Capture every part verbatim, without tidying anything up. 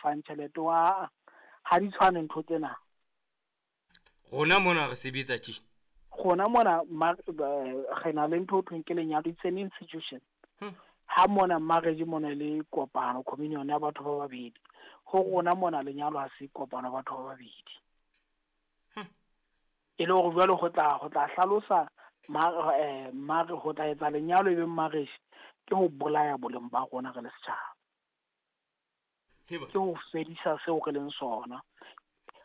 fang tjhelete wa ha di tshwane ntho tsena. Rona mona re sebetsa tje. Rona mona re na le ntho ho thweng ke lenyalo, it's an institution. Ha mona marriage mona le kopano, communion ya batho ba babedi. Ho rona mona lenyalo ha se kopano batho ba babedi. E le hore jwale ho tla ho tla hlalosa mare ho tla etsa lenyalo e be marriage ke ho bolaya boleng ba rona re le setjhaba. Ke ho fedisa seo re leng sona.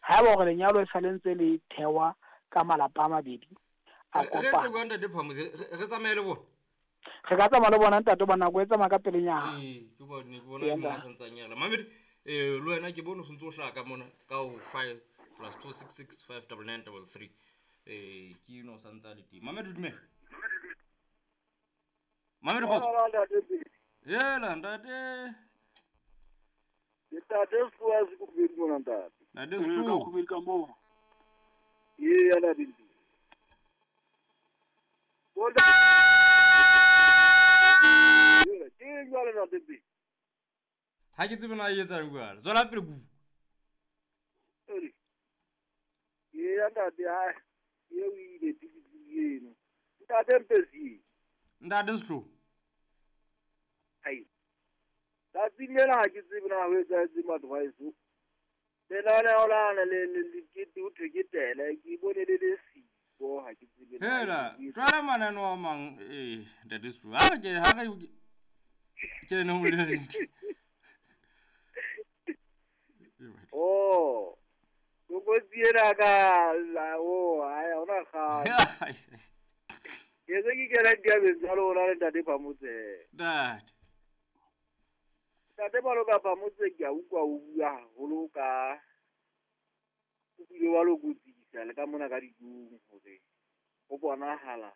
Haeba hore lenyalo e sa le ntse le thewa ka malapa a mabedi a kopana. Re tsamaye le bona. Re ka tsamaya le bona ntate ba nako e tsamaya ka pelenyana. Ee, ke bone ke bona mo sa ntsang yela. Mamedi eh le wena ke bone o sentse o hlaka mona ka o five plus two six six five nine nine three three. Eh ke no sa ntsa le teng. Mamedi dumela. Mamedi kgotso. Yela ntate. Ntate Sfuwa se kubedi mona ntate. Ntate Sfuwa kubedi ka moo. Ee ya ntate. Bona ha ke tsebe na e etsang jwale. Tswela pele ku. Ee ntate ha e o ile eno. Ntate Mpesi. Ntate Slo. Ai. Tsatsing lena ha ke tsebe na ho etsahetse batho ba heso. Lenaneo lana le le ke ho thwe ke tele ke bone le le siko ha ke tsebe. Hela, jwale mananeo a mang eh ntate Slo. Ha ke ha re ke no le. Oh. Lokotsi ena ka la o ha ona kga. Ke se ke kena diabeng tsa lona le ntate Phamotse. Ntate. Ntate Baloka Phamotse ke a utlwa o bua haholo ka o bile wa lokotsisa le ka mona ka dijong hore ho bonahala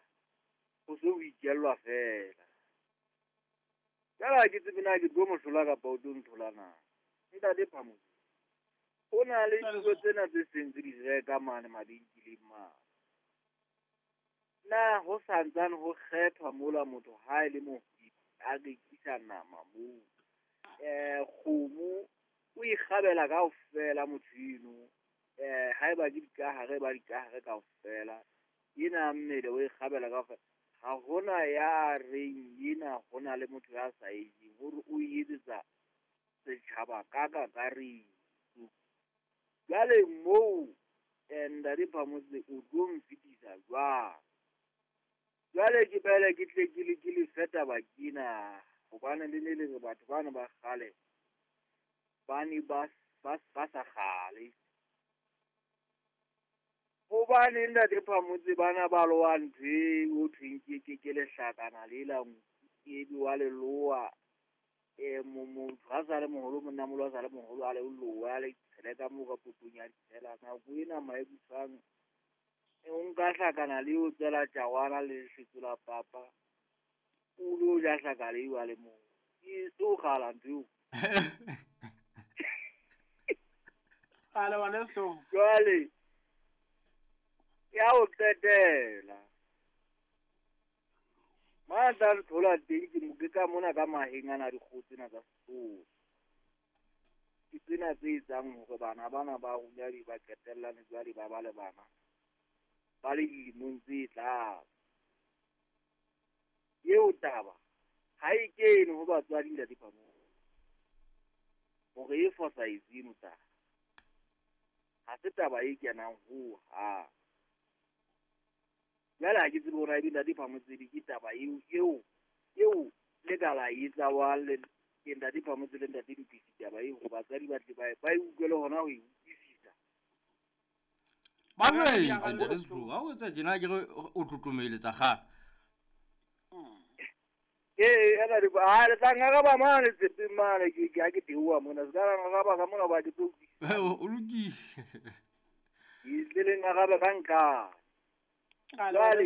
ho se ho ikellwa fela. Jwale ha ke tsebe na ke tlo mo hlola kapa o tlo nthola na. Ntate Phamotse. Ho na le dijo tsena tse seng tse di reka mane mabenkeleng mane. Na ho santsane ho kgethwa mola motho ha e le mohwebi a rekisa nama moo. Eh kgomo o ikgabela kaofela motho eno. Eh haeba ke dikahare ba dikahare kaofela. Ena mmele o ikgabela kaofela. Ha hona ya reng ena hona le motho ya sa e jeng hore o etsetsa setjhaba ka kakaretso. Jwale moo ntate Phamotse o tlo mfetisa jwang? Jwale ke bele ke tle ke le ke le fe taba kena hobane le ne le re batho bana ba kgale ba ne ba ba ba sa kgale. Hobane ntate Phamotse bana ba lowa ntho e ho thweng ke ke ke lehlakana lela e be wa leloa. E motho ha sa le moholo monna moholo ha sa le moholo a le lowa le tshele ka moo ka popong ya ditshela nako ena maebusang e o nka hlakana le o tswela tjawana le lesetso la papa o lo ja hlaka le wa le moo e so kgala ntho eo. Ale ngwaneso. Jwale ya o qetela matla re thola teng ke mo ke ka mona ka maheng ana dikgoho tsena tsa Sesotho. Ke tsena tse etsang hore bana bana ba rona di ba qetellane jwale ba ba le bana ba le dilemong tse tlase. Eo taba ha e kene ho batswadi ntate Phamotse hore e fosahetse eno taba. Ha se taba e kenang ho hang. Jwale ha ke tsebe hore ebe ntate Phamotse ke taba eo eo eo le ka la etsa wa le ke ntate Phamotse le ntate Mpisi taba eo ho batswadi ba tle ba ba e utlwele hona ho e utlwisisa. Ba jwetse ntate Slo, ha o etsa tjena ke re o tlotlomeletsa kgale. Ee, ana di ba le tla ngaraba mane tsepeng mane ke ke ha ke teoha mona se ka la ngaraba ka mona ba ke tlo utlwisisa. O lokile. Ke tle le ngaraba ka nka. Jwale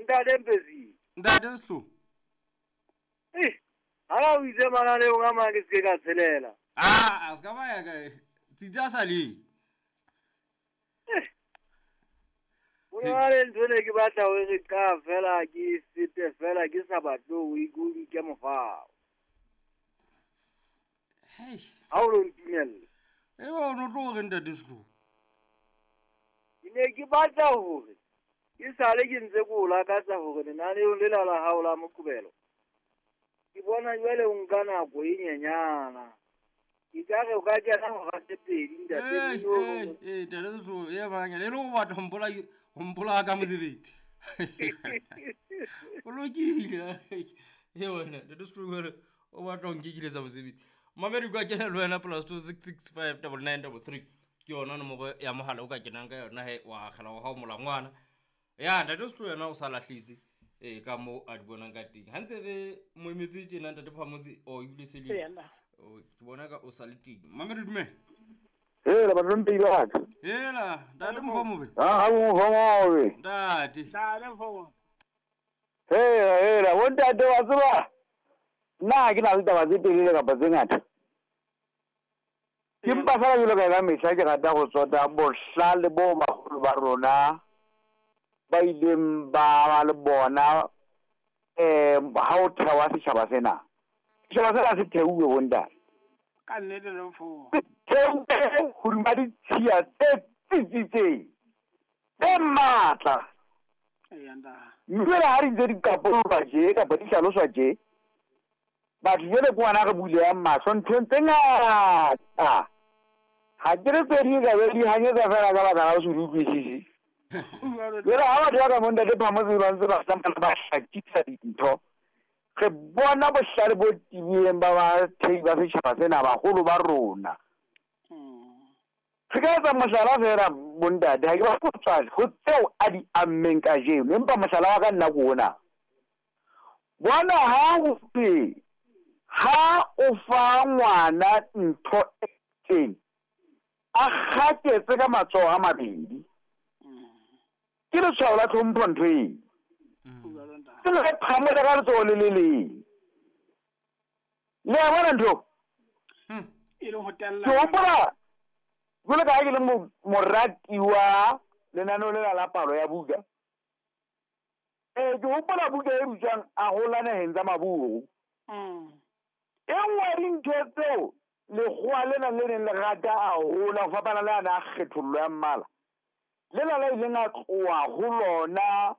ntate Mpesi. Ntate Slo. Eh, ha o itse mananeong a mang ke se ke ka tshelela. Ah, a se ka ba ya ka tsitsi a sa le. Eh. Ho na le ntho ne ke batla ho re ka fela ke fete fela ke sa batle ho ikutlwa ke mofao. Hei. Ha o lo ntumella. E ba o no tlo re ntate Setlogo. Ke ne ke batla hore ke sale ke ntse ke o lakatsa hore lenaneong lela la hao la Moqebelo. Ke bona jwale o nka nako e nyenyana. Ke ka re o ka kena hora tse pedi ntate. Eh eh ntate Setlogo e bang le lo batla ho mpola ho mpola ka mosebetsi. O lokile. E wena ntate Setlogo o batla ho nkekiletsa mosebetsi. Mamedi ka kena le wena plus two six six five nine nine three three. Ke yona nomoro ya mohala o ka kenang ka yona he wa akgela wa hao molangwana. Ya ntate Setlogo yena o sa lahletse eh ka mo a di bonang ka teng. Ha ntse re mo emetse tjena ntate Phamotse o ebile se le. O ke bona ka o sa le teng. Mamedi dumela. Hela batho mpei ba ka. Hela ntate Mfomobe. Ah ha Mfomobe. Ntate. Ntate Mfomobe. Hela hela bo ntate wa tseba. Nna ke na le taba tse telele kapa tse ngata. Ke mpa fela jwalo ka ka mehla ke rata go tsota bohlale bo baholo ba rona ba ileng ba ba le bona eh ha o thewa setjhaba sena. Setjhaba sena se theuwe bo ntate. Ka nnete le mfo. Theuwe hodima ditshiya tse tsitsitseng tse matla. Eya ntate. Mme ha di ntse di qapolwa tje kapa di hlaloswa tje, batho jwale ke ngwana re bulehang mahlo nthong tse ngata. Ha ke re tse ding ka be di hanyetsa fela ka baka la ho se di utlwisise. Jwale ha batho ba ka mo ntate Phamotse ba ntse ba tsamaya ba hlakisa dintho, re bona bohlale bo tibileng ba bathei ba setjhaba sena baholo ba rona. Re ka etsa mohlala fela bontate, ha ke ba kgotsofale ho tseo a di ammeng kajeno, empa mohlala wa ka nna ke ona. Bona ha ho thwe ha o fa ngwana ntho e itseng, a kgaketse ka matsoho a mabedi. Ke letshwao la tlhompho ntho eo. Ke le phamole ka letsoho le le leng. Le a bona ntho? E le ho tella. Ke hopola jwalo ka ha ke le morati wa lenaneo lela la palo ya buka. Eh ke hopola buka e bitswang A Hola Naheng Tsa Maburu. E nngwe ya dintho tseo lekgowa lena le neng le rata haholo ho fapana le ana a kgethollo ya mmala. Lena la ileng a tloha ho lona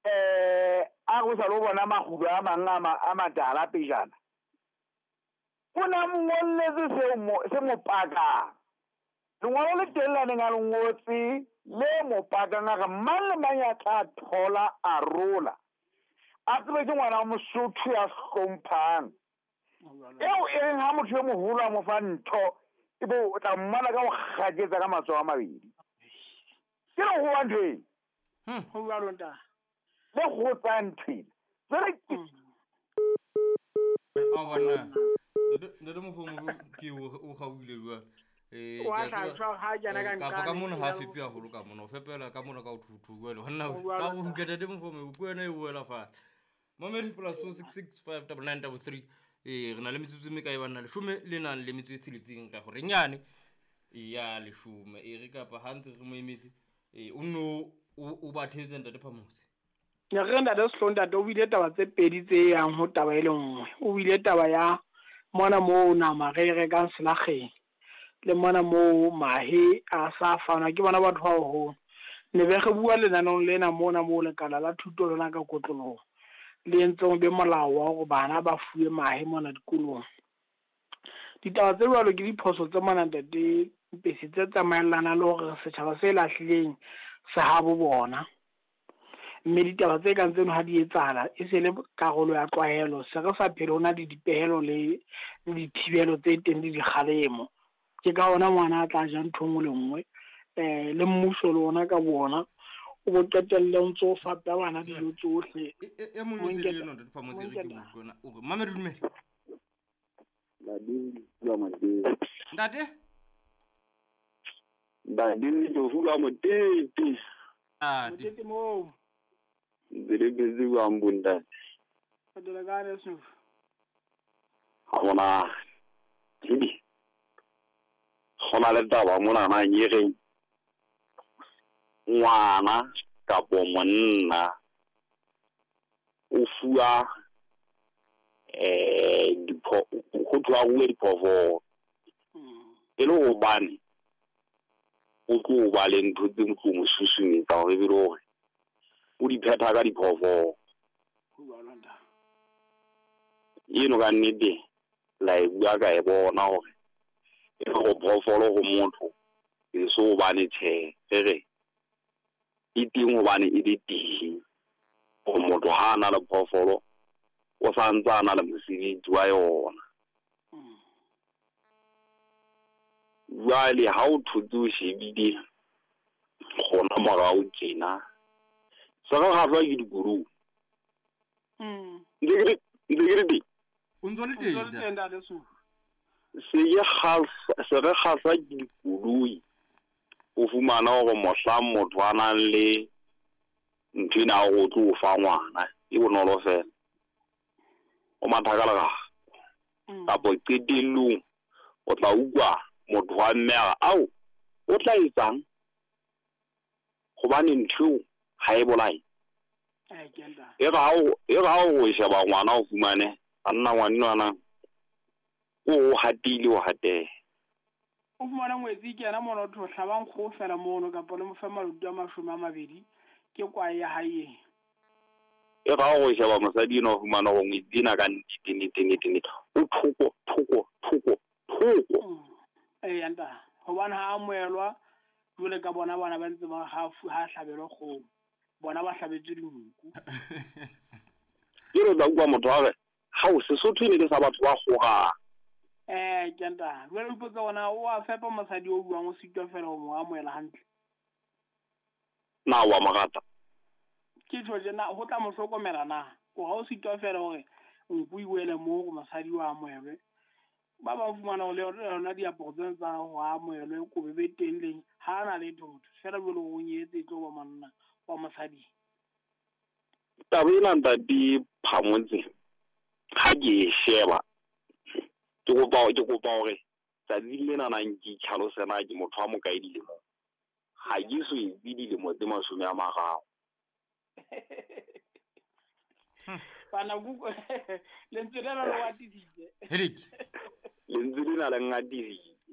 eh a go sa lo bona makgulo a mang a matala pejana. O na mo ngolletse seo mo se mo pakang. Lengolo le teng la neng a le ngotse le mo pakang a re mang le mang ya tla thola a rola. A tsebe ke ngwana wa Mosotho ya hlomphang. Eo e reng ha motho e moholo a mo fa ntho, ebe o tla mmona ka ho kgaketsa ka matsoho a mabedi. Ke le ho ntho ena. Ho jwalo ntate. Le ho tsaya ntho ena. Jwale ke A bona. Ntate Mfomobe ke o kgaohile jwale. Eh kapa ka mona ha fepe haholo ka mona o fepela ka mona ka o thuthu jwale honna ka go utlwa ntate Mfomobe ke wena e wela fatshe. Mamedi plus two six six five nine nine three three. Eh re na le metsotso e mekae banna leshome le nang le metso e tsheletseng ka hore nyane ya leshome e re kapa ha ntse re mo emetse eh o no o ba thetse ntate Phamotse. Ne re ntate Setlogo ntate o buile taba tse pedi tse yang ho taba e le nngwe. O buile taba ya mona moo nama re e rekang selakgeng le mona moo mahe a sa fanwa ke bona batho ba baholo. Ne be re bua lenaneong lena mona moo lekala la thuto lona ka kotloloho le entseng be molao wa hore bana ba fuwe mahe mona dikolong. Ditaba tse jwalo ke diphoso tse mona ntate Mpesi tse tsamaellanang le hore setjhaba se lahlileng se habo bona. Mme ditaba tse kang tseno ha di etsahala e se le karolo ya tlwaelo, se re sa phele ho na le dipehelo le le dithibelo tse teng le dikgalemo. Ke ka ona ngwana a tla ja ntho e nngwe le nngwe eh le mmuso le ona ka bona o bo qetelle o ntso fapa bana dijo tsohle. E mong e se le yona ntate Phamotse re ke utlwana o re Mamedi dumela. Ntate Badini Jofuga Motete. Ntate Motete moo. Ntse busy kwa mbunda. Fetola ka Snoef. Ha bona. Ke. Gona le taba mona na nyereng. Ngwana kapo monna o fuwa eh dipho go tloa go diphoofolo. E le hobane o tlo ba le ntho tse tlo mo susumetsa hore e be le hore o di phetha ka diphoofolo. Eno ka nnete la e bua ka e bona hore e le hore phoofolo ho motho e so hobane tjhe re re e teng hobane e le teng. Hore motho ha a na le phoofolo o sa ntse a na le mosebetsi wa yona. Jwale ha o thotse o shebile gona morao tjena se re kgahlwa ke dikoloi. Ntse ke re ntse ke re teng. O ntso le teng ntate Sulu. Se ke kgahlwa se re kgahlwa ke dikoloi. O fumana hore mohlang motho a nang le ntho ena ya hore o tlo o fa ngwana e bonolo fela. O matha ka lerako. Kapa qetellong o tla utlwa motho wa mme a re ao o tla etsang hobane ntho eo ha e bolaye. E re ha o e re ha o sheba ngwana o fumane banna ngwanenwana o o hatile o hateha. O fumana ngwetsi ke yena mona o tlo hlabang kgoho fela mono kapa le mo fe maluti a mashome a mabedi ke kwae ya hae. E re ha o sheba mosadi enwa o fumana hore ngwetsi ena ka nnete nnete nnete nnete o thoko thoko thoko thoko. Eya ntate, hobane ha amohelwa jwale ka bona bana ba ntse ba ha ha hlabelwa kgomo, bona ba hlabetswe dinku. Ke re tla utlwa motho a re hao Sesotho e ne le sa batho ba kgorang. Eh ke ntate, jwale o ipotsa hore o a fepa mosadi o buang o sitwa fela ho mo amohela hantle. Na wa mo rata? Ke tjho tjena ho tla mo hlokomela na? O ha o sitwa fela hore nku e wele moo hore mosadi o amohelwe. Ba bang fumana hore le yona diaparo tsena tsa ho amohelwe kobo be teng leng ha na letho motho fela jwale o nyetse e tlo ba monna wa mosadi. Taba ena ntate Phamotse ha ke e sheba ke kopa ke kopa hore tsatsing lena nang ke itlhalose na ke motho wa mokae dilemong. Ha ke so etse dilemo tse mashome a mararo. Bana kuko lentswe lena le watisitse. Hedik. Lentswe lena le ngatisitse.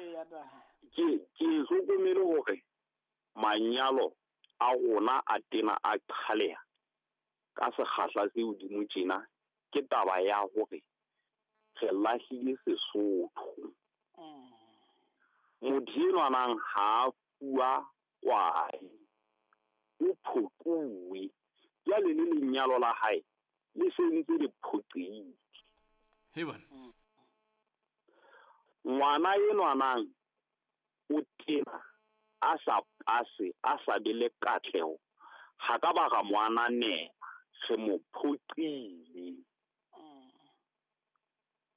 Eya ta. Ke ke hlokomele hore manyalo a rona a tena a qhaleha ka sekgahla se hodimo tjena ke taba ya hore re lahlile Sesotho. Motho enwa nang ha a fuwa kwae, o phoquwe. Jwale le lenyalo la hae le se ntse le phoqehile. He bana. Ngwana enwa nang o tena a sa pase a sa be le katleho ha ka ba ra mo ananela re mo phoqile.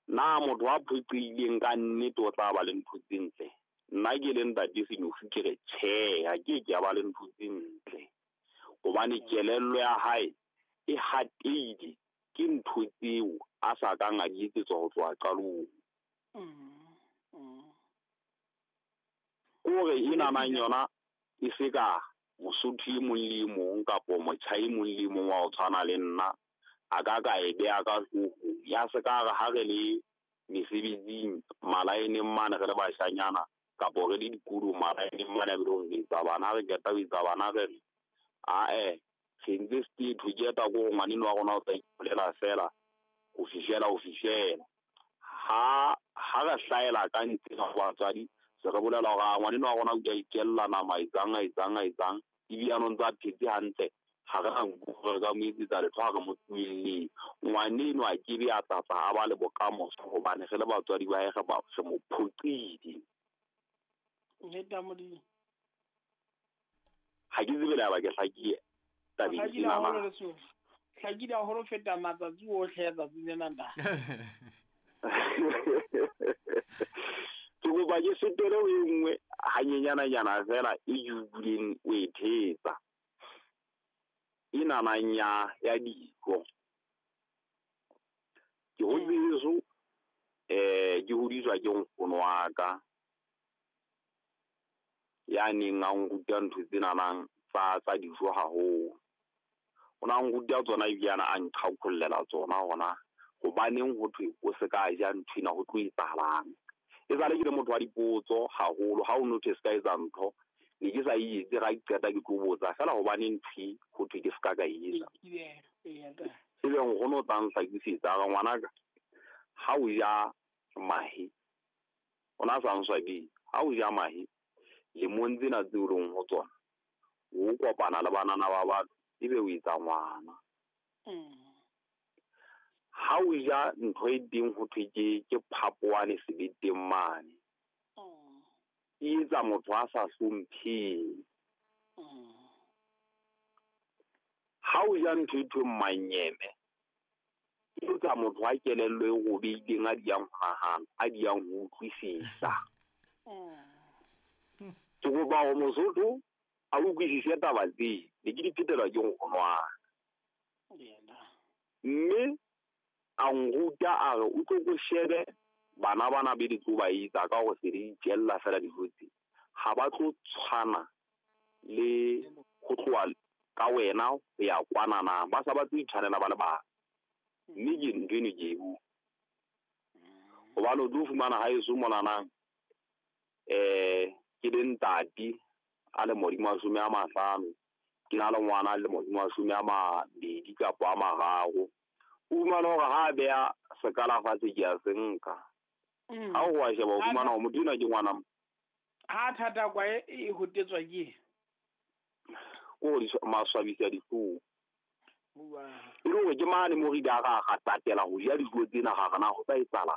Na motho a phoqileng ka nnete o tla ba le ntho tse ntle? Nna ke le ntate Senyofu ke re tjhe, ha ke ke a ba le ntho tse ntle. Hobane kelello ya hae e hatehile ke ntho tseo a sa kang a di etsetswa ho tloha qalong. Kore ena nang yona e se ka Mosotho e mong le e mong kapo motjha e mong le e mong wa ho tshwana le nna a ka ka e beha ka hloohong. Ya se ka re ha re le mesebetsing malaeneng mane re le bashanyana kapo re le dikolong malaeneng mane a bile hore re etsa bana, ha re qeta ho etsa bana re re ae re ntse sethetho ke eta ko hore ngwaneno wa rona o tla ipolela fela ho fihlela ho fihlela. Ha ha re hlahela ka ntle ho batswadi se re bolela hore ngwaneno wa rona o ka ikella nama etsang a etsang a etsang ebile a no ntse a phetse hantle ha re na nku re ka mo etsetsa letho ha re mo tlohelleng. Ngwaneno a ke be a tlatla a ba le bokamoso hobane re le batswadi ba hae re ba re mo phoqile. Nnete ya Modimo. Ha ke tsebe le ha ba ke hlakile tabeng Hlakile ena na. haholo Lesotho. Hlakile haholo ho feta matsatsi ohle a tsatsing lena ntate. Ke kopa ke fetele ho e nngwe hanyenyananyana fela e ke utlwileng o e thetsa. Ena nang ya ya dijo. Ke hotse heso eh ke hodiswa ke nkgono wa ka ya neng a nruta ntho tsena nang tsa tsa dijo haholo. O na nruta tsona ebile a na a nqhaqhollela tsona hona hobaneng ho thwe o se ka ja ntho ena ho tlo etsahalang. E sale ke le motho wa dipotso haholo, ha o notice ka etsa ntho ne ke sa e etse, ga ke qeta ke tlo botsa fela hobane ntho ho thwe ke ska ka e etsa. Ebe nkgono o tla nhlakisetsa a re ngwanaka, ha o ja mahe, o na sa nswabile, ha o ja mahe lemong tsena tseo leng ho tsona, o kopana le banana ba batho ebe o etsa ngwana. Ha o ja ntho e teng ho thwe ke ke phapoane sebeteng mane, e etsa motho a sa hlompheng. Ha o ja ntho e thweng manyeme, e etsa motho a kelello e robehileng, a diyang ho nahana, a diyang ho utlwisisa. Ke kopa hore Mosotho a utlwisise taba tse, ne ke di phetelwa ke nkgono wa ka. Mme a nruta a re o tlo ko shebe bana bana be di tlo ba etsa ka hore se di itjella fela dijo tse, ha ba tlo tshwana le ho tloha ka wena ho ya kwanana, ba sa batle ho itshwanela ba le bang. Mme ke ntho eno ke e bua hobane o tlo fumana haeso monanang, eh ke le ntate a le modimo a some a mahlano, ke na le ngwana a le modimo a some a mabedi kapa a mararo. O fumana hore ha a beha sekala fatshe ke a se nka. Ha o wa sheba o fumana hore motho enwa ke ngwana. Ha thata kwa e hotetswa ke ko di maswabisa dihlong. E le hore ke mane mo re ile ra ra tatela ho ja dijo tsena ga rena ho tla etsahala.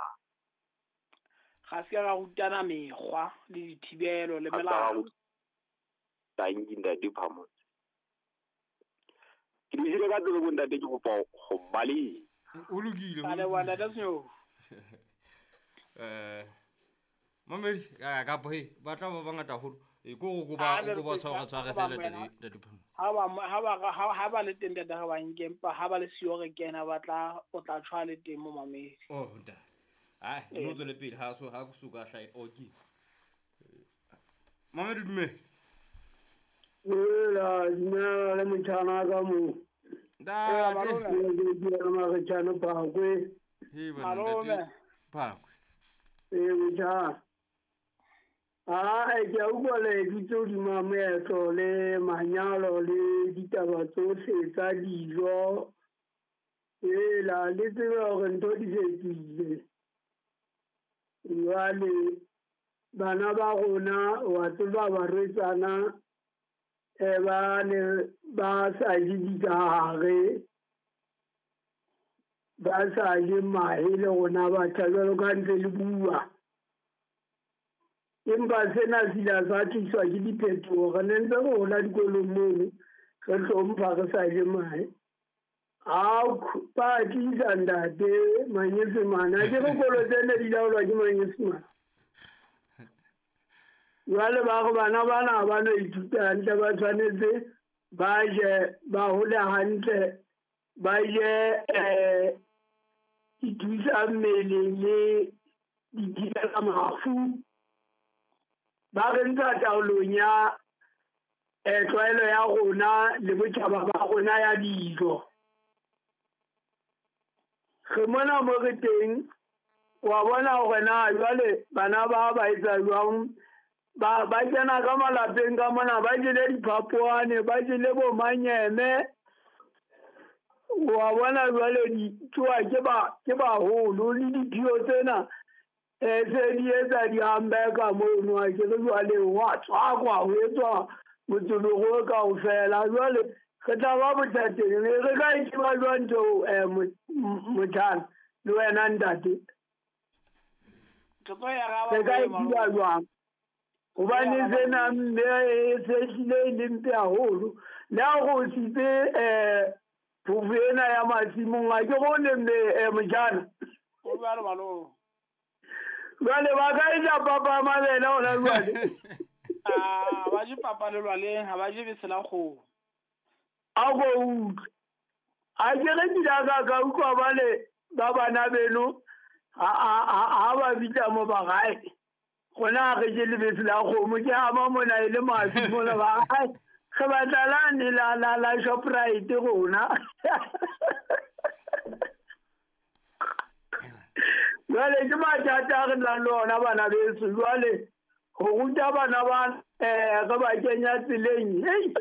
Ga se ka rutana mekgwa le dithibelo le melao. Thank you, Ntate Phamotse. Ke dijile ka tsebe bo ntate, ke kopa ho baleha. O lokile. A leboha ntate Senyo. Eh Mamedi ka he ba tla ba bangata haholo. E ko go ba go ba tshwara tshwara fela ntate Phamotse. Ha ba ha ba ha ba le teng ntate ga ba nke, empa ha ba le siyo re kena ba tla o tla tshwa le teng mo mamedi. Oh ntate. Ai no tswele pele ha so ha go suka hlae okay. Mamedi dume. Ela dumela le motjhana ka mo. Ntate. Ke Maretjhane Phakwe. He bana ntate Phakwe. Eh motjhana. Ah, ke a utlwa le dutse hodima moetlo le manyalo le ditaba tsohle tsa dijo. Ela le tsebe hore ntho di fetohile. Jwale bana ba rona wa tseba barwetsana e ba ne ba sa je dikahare, ba sa je mahe le rona batjha jwalo ka ntse le bua. Empa sena se ile sa tliswa ke diphetoho. Re ne ntse re hola dikolong mono, re hlompha re sa je mahe. Ao ba tlisa ntate manyesemane, ha ke re kolo tsene di laolwa ke manyesemane. Jwale ba re bana bana ha ba no ithuta hantle, ba tshwanetse ba je ba hole hantle, ba je eh dithusa mmele le dithibela mafu. Ba re ntsha taolong ya eh tlwaelo ya rona le botjhaba ba rona ya dijo. Re mona mo re teng, wa bona hore na jwale bana ba ba etsa jwang, ba ba kena ka malapeng ka mona, ba jele diphapoane, ba jele bo manyeme. Wa bona jwale di tsoa ke ba ke baholo le diphio tsena eh se di etsa di-hamburger mono, a ke re jwale wa tswakwa ho etswa motsologo kaofela. Jwale re tla ba bothateng, re ka e tseba jwang ntho eh motjhana le wena ntate? Re ka e tseba jwang? Hobane sena mme e se hlile e le mpe haholo. Le ha o sitse eh phofo ena ya masimong, a ke bone mme eh motjhana. O jwalo malome. Jwale ba ka e ja papa ya mabele hona jwale. Ah, ba je papa lelwaleng, ha ba je bese la kgomo. A ko utlwe. A ke re ke la ka ka utlwa ba le ba bana beno ha ha ha ba bitsa mo ba gae. Rona re je lebese la kgomo, ke ama mona e le mafi mona ba gae. Re batla lane la la la Shoprite rona. Jwale ke mathata a re nang le ona bana beso. Jwale ho ruta bana ba eh re ba kenya tseleng, hei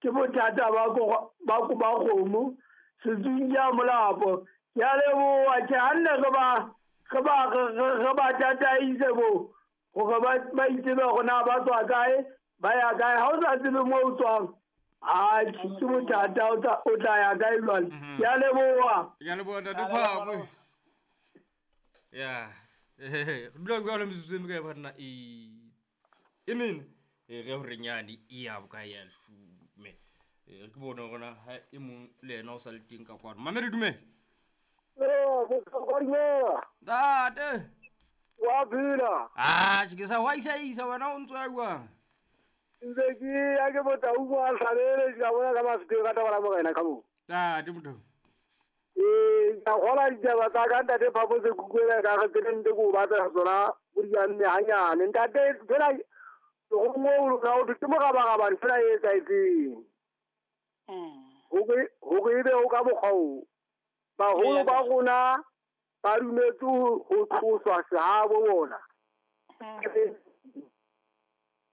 ke bothata ba ko ba ko ba kgomo setsunya molapo. Ke a leboha tjhe, ha nne re ba re ba re ba tataise bo hore ba ba itsebe hore na ba tswa kae ba ya kae. Ha o sa tsebe moo o tswang, a ke bothata, o tla o tla ya kae jwale. Ke a leboha. Ke a leboha ntate Phakwe. Ya re dula jwalo metsotso e mekae banna? E e mene e re hore nyane e ya bokae ya leshome. E re ke bone hore na ha e mong le yena o sa le teng ka kwano. Mamedi dumela. Eh, bohlokwa dumela. Ntate. Wa phela. Ah, ke sa wa isa isa wena o ntso ya jwang? Ntse ke ya ke botsa o a hlabele ke bona ka mafike ka taba la morena ka mo. Ntate motho. Eh, ka gola ditaba tsa ka ntate Phapo se kukwela ka re tsene nte go batla tsona go di nne hanyane. Ntate fela go mo o na o ke mo gaba fela e etsaetseng. Mm. Ho ke ho ke be o ka mokgwa baholo ba rona ba dumetse ho tloswa sehabo bona.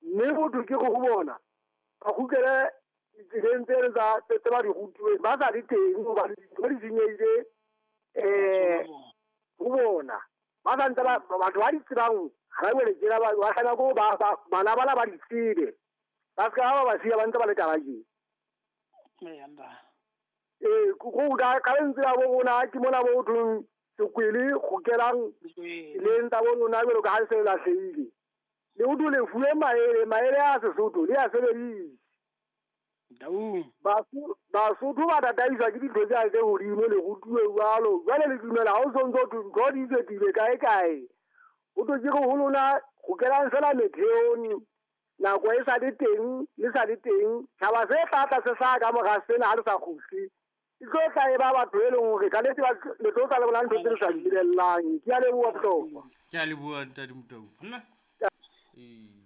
Mme motho ke go bona ba kgutlele ditseleng tsele tsa tse ba di rutuweng, ba sa di teng hobane dintho di senyehile eh ho bona. Ba sa ntse ba batho ba di tsebang ha ba wele tjena ba ba hlana ko ba bana bana ba di tsebe. Ba ska ba ba siya ba ntse ba le taba tje. Eh go ka ka lentswe la bo rona ke mona bo thong sekwele go kelang le ntsa bo lona jwalo ka ha se lahlehile. Le o dule fuwe maele, maele a Sesotho le a sebedise. Basotho ba tataiswa ke dintho tse tse hodimo le rutuwe jwalo. Jwale le dumela ha o sontso ntho di fetile kae kae. O tlo ke ho lona go kelang fela metheong nako e sa le teng le sa le teng. Tjhaba se tla tla se sa ka mora sena ha le sa kgutle. E tlo tla e ba batho e leng hore ka nnete ba le tlo tla le bona ntho tse le sa di lebellang. Ke a leboha bohlokwa. Ke a leboha ntate Motau. Nna ee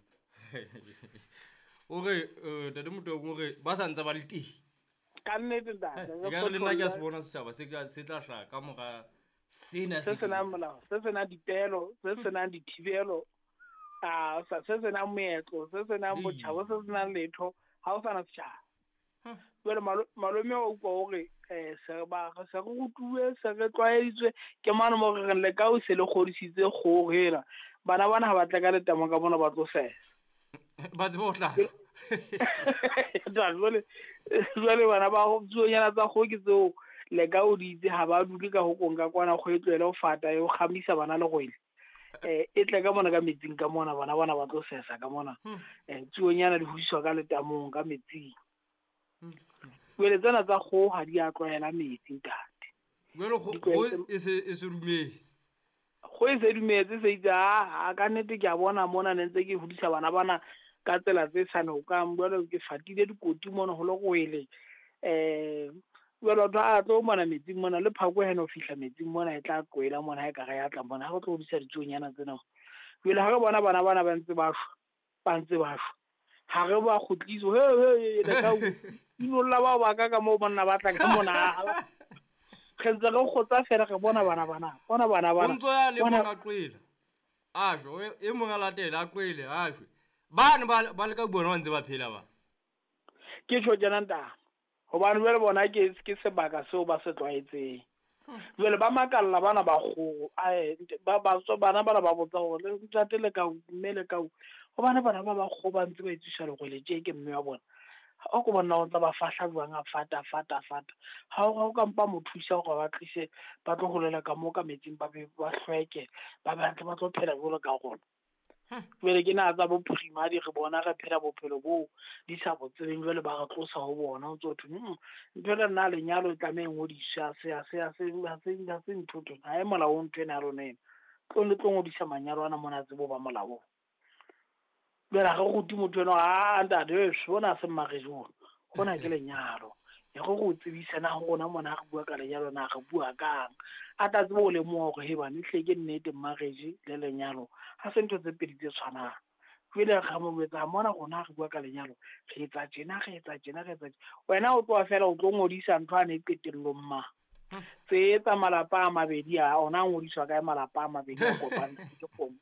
o re ntate Motau o re ba sa ntse ba le teng. Ka nnete ntate. Ka re le nna ke a se bona setjhaba se ka se tla hlaha ka mora sena se senang molao, se senang dipelo, se senang dithibelo, a se senang moetlo, se senang botjhaba, se senang letho, ha o sana setjhaba. Jwale malome o utlwa hore eh se ba se re rutuwe, se re tlwaeditswe ke mane mo re reng le ka o se le kgodisitse kgoho ena. Bana bana ha ba tla ka letamo ka mona ba tlo sesa. Ba tsebe ho hlaha. Jwale jwale bana ba tsuonyana tsa kgoho ke tseo le ka o di itse ha ba dule ka hokong ka kwana kgoho e tlohele ho fata e ho kgamisa bana le rwele. Eh e tle ka mona ka metsing ka mona bana bana ba tlo sesa ka mona. Eh tsuonyana di hodiswa ka letamong ka metsing. Jwale tsena tsa kgoho ha di a tlwaela metsi ntate. Jwale kgoho e se e se dumetse. Kgoho e se dumetse se itse a ka nnete ke a bona mona ne ntse ke hodisa bana bana ka tsela tse sa lokang, jwale ke fatile dikoti mona ho le rwele. Eh jwale batho a tlo mona metsing mona le phako heno ho fihla metsing mona e tla qwela mona ha e ka re ya tla mona ha re tlo hodisa ditsuonyana tsena. Jwale ha re bona bana bana ba ntse ba shwa, ba ntse ba shwa. Ha re ba kgutliso he he le ka inolla bao ba ka ka moo banna ba tla ka mona. Re ntse re kgotsa fela re bona bana bana bona bana bana. O ntso ya le mong a qwela. A shwe e mong a latela a qwele a shwe. Bane ba ba le ka bona ba ntse ba phela ba. Ke tjho tjena ntate. Hobane jwale bona ke ke sebaka seo ba se tlwaetseng. Jwale ba makalla bana ba kgoho ba ba bana bana ba botsa hore ntate le ka mme le ka hobane bana ba ba kgoho ba ntse ba etsisa lerwele tje ke mme wa bona. O ko bona o tla ba fahla jwang a fata fata fata. Ha o ka mpa mo thusa hore ba tlise ba tlo holela ka moo ka metsing ba be ba hlweke ba batle ba tlo phela jwalo ka rona. Jwale ke na tsa bo primary re bona re phela bophelo bo di sa bo tsebeng jwale ba re tlosa ho bona o tso thwe ntho le nna lenyalo e tlameha e ngodiswe ha se ha se ha se ha se ha se ntho ntho ha e molaong ntho ena ya rona ena. Tlo le tlo ngodisa manyalo ana mona tsebo ba molaong. Jwale ha re rute motho enwa a ntate hona se marriage ona hona ke lenyalo. E re go tsebisa na rona mona ha re bua ka lenyalo na re bua kang. A tla tsebe ho lemoha hore he bane hle ke nnete marriage le lenyalo ha se ntho tse pedi tse tshwanang. Jwale re mo jwetsa mona rona re bua ka lenyalo re etsa tjena re etsa tjena re etsa tjena. Wena o tloha fela o tlo ngodisa ntho ane qetellong ma. Tse etsa malapa a mabedi a ona a ngodiswa kae malapa a mabedi a kopane ke kgomo.